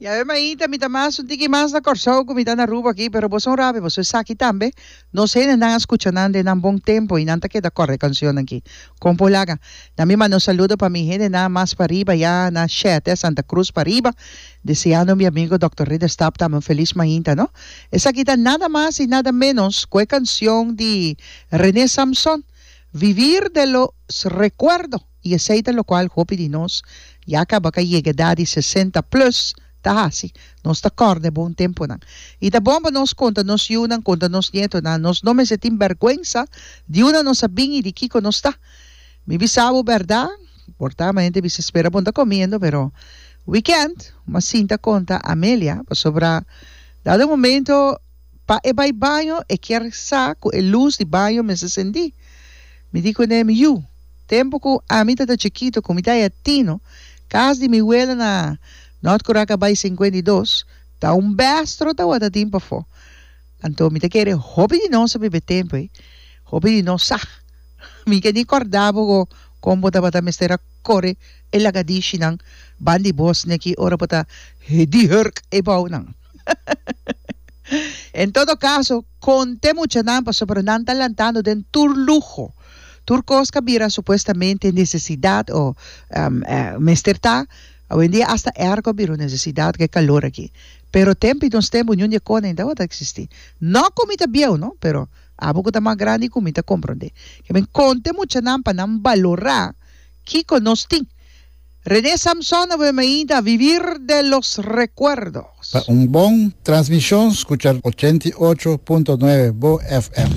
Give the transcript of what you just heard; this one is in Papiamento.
Ya mainta mi ta mas un tiki mas na Kòrsou ku mi ta na Aruba aki, pero boso un rabia, boso esaki tambe. Nos hendenan a skucha nan den nan bon tempu i nan ta keda kòrda e kanshonnan aki. Kon por laga? Na mi manda un saludo pa mi hendenan mas pariba ya na Shete, Santa Cruz pariba, deseando mi amigo Dòkter Ridderstap tambe un felis mainta no. Esaki ta nada mas i nada ménos ku e kanshon di René Samson, Vivir de los recuerdo. I esei ta lokual hopi di nos ya kaba ka yega edat di sesenta plus ta hasi. Nos ta kòrda e bon tempunan. I ta bon pa nos konta nos yunan, konta nos nietonan. Nos no mester tin bèrgwensa di unda nos a bin i di kiko nos ta. Mi bisa bo bèrdat, por ta hende bisa spera bo no ta komiendo, pero wikènt m'a sinta konta Amelia pasobra dado momento pa e bai baño e kier sa ku e lus di baño mester sendí. Mi di kuné, Mi yu, tempu ku ami ta ta chikitu, ku mi ta haya tino, kas di mi wela na Nòrt Kuraca bai 52, ta un bestro tawata tin pafó. Anto mi ta kere hopi di nos a biba e tempu ei, hopi di nos sa. Mi ke ni kòrda bo ku kon bo tabata mester a kore e lagadishinan ban di bos neki ora bo ta di hurk e bounan. En todo kaso, konta e muchanan pasobra nan ta lantando den tur luho. Tur kos ka bira supuestamente nesesidat o mester ta. Awendia asta airco a bira un nesesidat ku e kalor aki. Pero tempu i nos tempu niun di e kos nan tabata eksistí. No ku mi ta bieu no, pero abo ku ta mas grandi ku mi ta komprondé. Ke men konta e muchanan pa nan balorá kiko nos tin. René Samson a wema ainda Vivir de los recuerdos. Pa un bon transmishon skucha 88.9 Bo FM.